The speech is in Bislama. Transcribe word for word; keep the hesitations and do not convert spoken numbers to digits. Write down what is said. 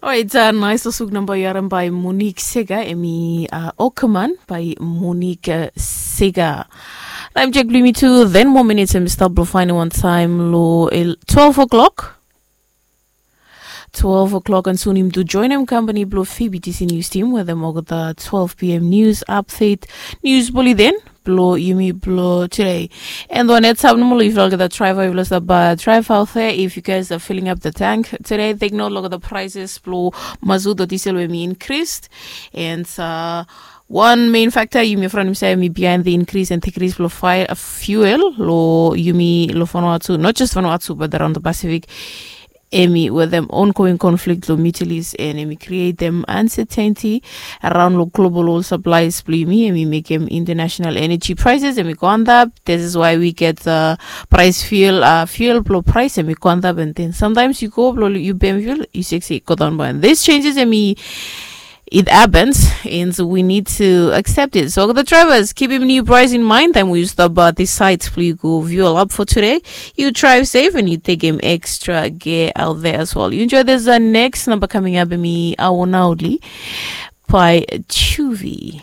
Orait, nais tasuk namba yu harim bai Monique Sega, emi Okaman bai Monique Sega. Taim jek blong yumi tu, ten moa minits emi stap blong fainim wan taim long twelve o'clock. Twelve o'clock and sun yumi tu joinim kampani blong Phoebe T C News Team wetem olgeta twelve p.m. news update, news bulletin blong yumi blong today. And one heads up nomo long yufala olgeta driver, yufala stap drive out there, if you guys are filling up the tank today, take note olgeta prices blong mazut o diesel we mi increased. And uh, one main factor yumi franim se mi behind the increase and decrease blong fire fuel lo yumi lo Vanuatu, not just Vanuatu but around the Pacific. Emi wetem ongoing conflict lo Middle East, and emi createm uncertainty around lo global oil supplies blong yumi, emi mekem international energy prices emi go antap. This is why we get uh, price fuel uh, fuel blong price emi go antap. And then sometimes you go blong you pem fuel, you sexy go down by. And this changes emi it happens, and we need to accept it. So the drivers, keep him new price in mind, and we stop by this site. Please go view a lot for today. You drive safe and you take him extra gear out there as well. You enjoy this uh, next number coming up in me Awonauli by Chuvi.